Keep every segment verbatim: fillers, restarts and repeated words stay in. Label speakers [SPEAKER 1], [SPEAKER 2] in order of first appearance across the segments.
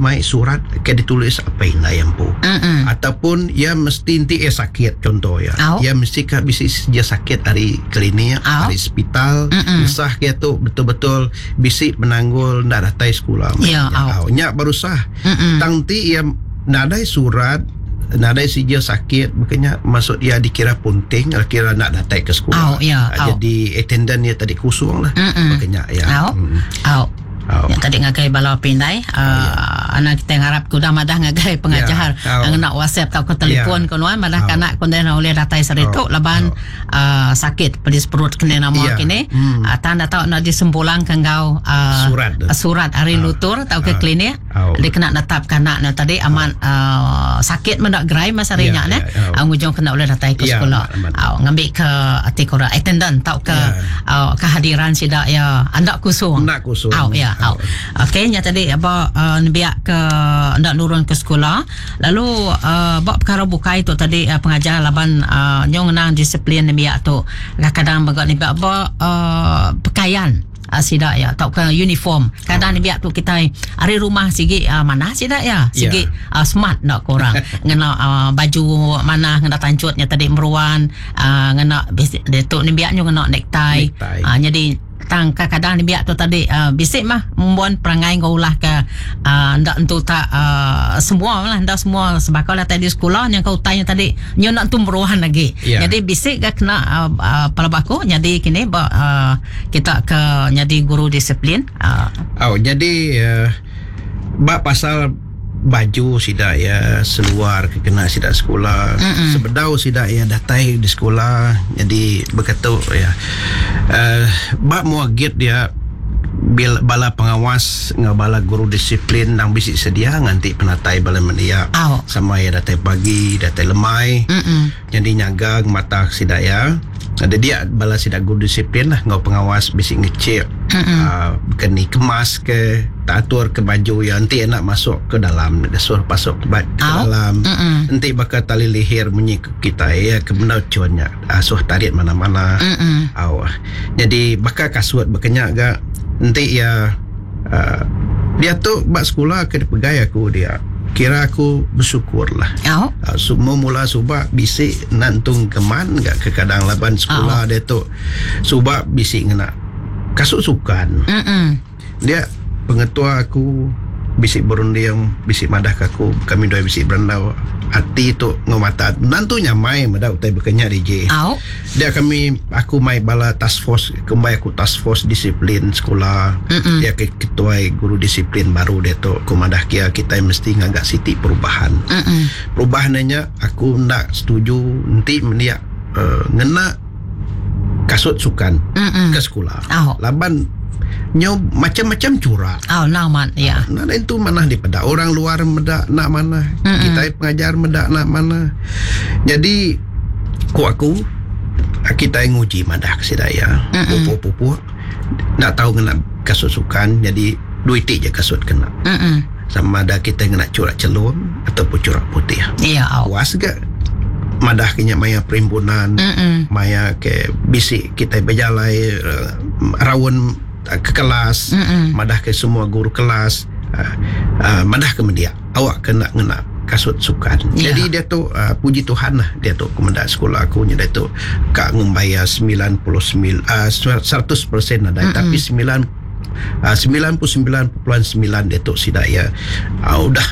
[SPEAKER 1] mai surat ke ditulis apa indai empu.
[SPEAKER 2] Mm-mm.
[SPEAKER 1] Ataupun ia mesti nanti ia sakit contoh ya.
[SPEAKER 2] Au.
[SPEAKER 1] Ia mesti ka bisi dia sakit dari klinik,
[SPEAKER 2] Au.
[SPEAKER 1] dari hospital,
[SPEAKER 2] Mm-mm.
[SPEAKER 1] sah kia tu betul-betul bisi menanggul ndak datai sekolah.
[SPEAKER 2] Ya, au.
[SPEAKER 1] Au. Nya baru sah.
[SPEAKER 2] Mm-mm.
[SPEAKER 1] Tang ti ia nadai surat nadai sijil sakit makanya maksud ia dikira punting kira nak datai ke sekolah.
[SPEAKER 2] Au, ya,
[SPEAKER 1] Ah,
[SPEAKER 2] au.
[SPEAKER 1] Jadi attendant dia tadi kusung lah.
[SPEAKER 2] Mm-mm.
[SPEAKER 1] Makanya ya.
[SPEAKER 2] Au.
[SPEAKER 1] Mm.
[SPEAKER 2] Au.
[SPEAKER 1] Au.
[SPEAKER 2] Ya tadi ngagai bala pindai uh, anak kita ngarap ku dah madah ngagai pengajar
[SPEAKER 1] Ya, au.
[SPEAKER 2] uh, ngena WhatsApp atau ke telefon
[SPEAKER 1] Ya.
[SPEAKER 2] ku nuan madah
[SPEAKER 1] Au.
[SPEAKER 2] kanak ku dah oleh datai saritu
[SPEAKER 1] Au.
[SPEAKER 2] laban uh, sakit pedis perut kena nama
[SPEAKER 1] Ya.
[SPEAKER 2] kini
[SPEAKER 1] Hmm.
[SPEAKER 2] uh, tanda tau nak disempulang ke ngau uh,
[SPEAKER 1] Surat.
[SPEAKER 2] surat hari lutur atau ke
[SPEAKER 1] Ah.
[SPEAKER 2] klinik
[SPEAKER 1] Au.
[SPEAKER 2] dia kena netap kanak na tadi aman uh, sakit mendak gerai masa
[SPEAKER 1] Ya,
[SPEAKER 2] nya ne
[SPEAKER 1] ya, au.
[SPEAKER 2] uh, ngujung kena oleh datai ke
[SPEAKER 1] Ya,
[SPEAKER 2] sekolah
[SPEAKER 1] amat, amat.
[SPEAKER 2] Au, ngambil ke ati kora attendant tau ke
[SPEAKER 1] Ya.
[SPEAKER 2] uh, kehadiran sidak ya andak kusung
[SPEAKER 1] Andak kusung.
[SPEAKER 2] Au, ya au. Okey nya tadi apa uh, biak ke ndak nurun ke sekolah lalu uh, bab perkara bukai tu tadi uh, pengajar laban uh, nyong nang disiplin biak tu kadang-kadang bagak ni biak ba uh, pakaian uh, sidak ya tau ke uniform kadang ni biak tu kita hari rumah sigi uh, mana sidak ya sigi
[SPEAKER 1] Ya.
[SPEAKER 2] uh, smart nak korang ngena uh, baju mana ngena tancutnya tadi meruan uh, ngena dia tu ni biak nyo ngena necktie,
[SPEAKER 1] Necktie.
[SPEAKER 2] Uh, jadi tang kadang ni biak tu tadi uh, bisik mah membuat perangai ngaulah ke uh, ndak entu tak uh, semua lah ndak semua sebab lah tadi sekolah yang kau tanya tadi nyo nak tu meruan lagi.
[SPEAKER 1] Ya.
[SPEAKER 2] Jadi bisik ke kena uh, uh, palabaku jadi kini ba, uh, kita ke jadi guru disiplin uh,
[SPEAKER 1] Oh, jadi uh, bab pasal baju sidak ya seluar ke kena sidak sekolah.
[SPEAKER 2] Mm-mm.
[SPEAKER 1] Sebedau sidak ya datai di sekolah jadi berkata ya. Uh, bab muagit dia bil, bala pengawas ngau bala guru disiplin nang bisik sedia nganti penatai bala mendia.
[SPEAKER 2] Au.
[SPEAKER 1] Sama ya datai pagi, datai lemai.
[SPEAKER 2] Mm-mm.
[SPEAKER 1] Jadi nyaga mata sidak ya. Ada dia bala sidak guru disiplin lah ngau pengawas bisik ngecek uh, keni kemas ke tak atur ke baju ya nanti nak masuk ke dalam dia suruh masuk ke, ba- ke
[SPEAKER 2] Au.
[SPEAKER 1] dalam
[SPEAKER 2] Mm-mm.
[SPEAKER 1] nanti bakal tali leher bunyi ke kita ya ke benda cuannya asuh tarik mana-mana
[SPEAKER 2] Mm-mm.
[SPEAKER 1] Au. Jadi bakal kasut berkenyak gak nanti ya uh, dia tu bak sekolah ke dipegai aku dia kira aku bersyukur lah
[SPEAKER 2] Au.
[SPEAKER 1] Uh, semua mula subak bisik nantung keman gak ke kadang laban sekolah dia tu subak bisik ngena kasut sukan
[SPEAKER 2] Mm-mm.
[SPEAKER 1] dia pengetua aku bisik berunding bisik madah ke aku kami dua bisik berandau hati tu ngomata nantu nyamai madah utai berkenyak D J
[SPEAKER 2] Au.
[SPEAKER 1] dia kami aku mai bala task force kembali aku task force disiplin sekolah.
[SPEAKER 2] Mm-mm.
[SPEAKER 1] Dia ke ketua guru disiplin baru dia tu aku madah kia kita mesti ngagak siti perubahan.
[SPEAKER 2] Mm-mm.
[SPEAKER 1] Perubahannya aku nak setuju nanti mendia uh, ngena kasut sukan
[SPEAKER 2] Mm-mm.
[SPEAKER 1] ke sekolah.
[SPEAKER 2] Au.
[SPEAKER 1] Laban nyo macam-macam curak.
[SPEAKER 2] Au naman ya.
[SPEAKER 1] Nah, itu mana di pada orang luar medak nak mana,
[SPEAKER 2] Mm-mm.
[SPEAKER 1] kita pengajar medak nak mana. Jadi ku aku kita yang nguji madah ke sidaya, pupuk-pupuk nak tahu kena kasut sukan jadi duit je kasut kena.
[SPEAKER 2] Mm-mm.
[SPEAKER 1] Sama ada kita kena curak celum ataupun curak putih.
[SPEAKER 2] Ya au.
[SPEAKER 1] Puas ke madah kenya maya perimpunan
[SPEAKER 2] Mm-mm.
[SPEAKER 1] maya ke bisik kita berjalai uh, rawon uh, ke kelas
[SPEAKER 2] Mm-mm.
[SPEAKER 1] madah ke semua guru kelas uh, uh, madah ke media awak kena ngena kasut sukan.
[SPEAKER 2] Ya.
[SPEAKER 1] Jadi dia tu uh, puji Tuhan lah dia tu kemendak sekolah aku nya dia tu kak ngumbayar sembilan puluh sembilan uh, seratus peratus ada mm-hmm. tapi sembilan uh, sembilan puluh sembilan perpuluhan sembilan dia tu sidak ya uh, udah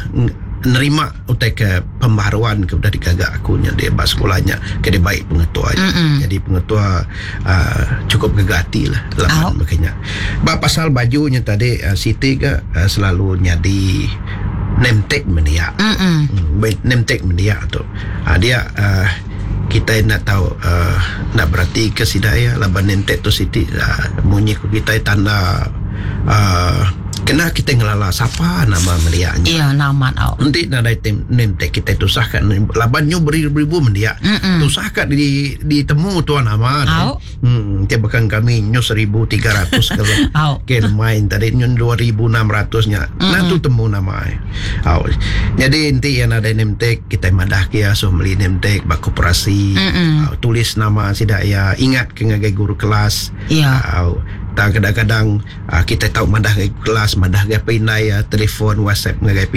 [SPEAKER 1] nerima utai ke pembaharuan ke udah digagak aku nya dia bak sekolahnya ke dia baik pengetua.
[SPEAKER 2] Mm-mm.
[SPEAKER 1] Jadi pengetua uh, cukup gegati lah
[SPEAKER 2] Au.
[SPEAKER 1] lapan makanya. Bak pasal bajunya tadi uh, Siti ke uh, selalu nyadi name tag mendia.
[SPEAKER 2] Mm-mm.
[SPEAKER 1] Hmm, name tag mendia tu. Uh, dia uh, kita nak tahu uh, nak berarti ke sidaya laban name tag tu Siti uh, bunyi ku kita tanda uh, kena kita ngelala siapa nama melianya.
[SPEAKER 2] Ya naman au.
[SPEAKER 1] Nanti nadai tem name tag kita tusah kan laban nyu beribu-ribu mendia.
[SPEAKER 2] Mm-mm.
[SPEAKER 1] Tusah kat di ditemu tuan nama.
[SPEAKER 2] Au.
[SPEAKER 1] Hmm, dia bahkan kami nyu seribu tiga ratus kalau
[SPEAKER 2] Au.
[SPEAKER 1] ke main tadi nyu dua ribu enam ratus nya. Nah tu temu nama. Au. Jadi nanti yang ada name tag kita madah kia so beli name tag bak koperasi.
[SPEAKER 2] Mm-mm.
[SPEAKER 1] Au, tulis nama sidak ya ingat ke ngagai guru kelas.
[SPEAKER 2] Ya.
[SPEAKER 1] Au. Tak kadang-kadang ah, kita tahu madah ke kelas, madah ke pinai ya, telefon, WhatsApp ngagai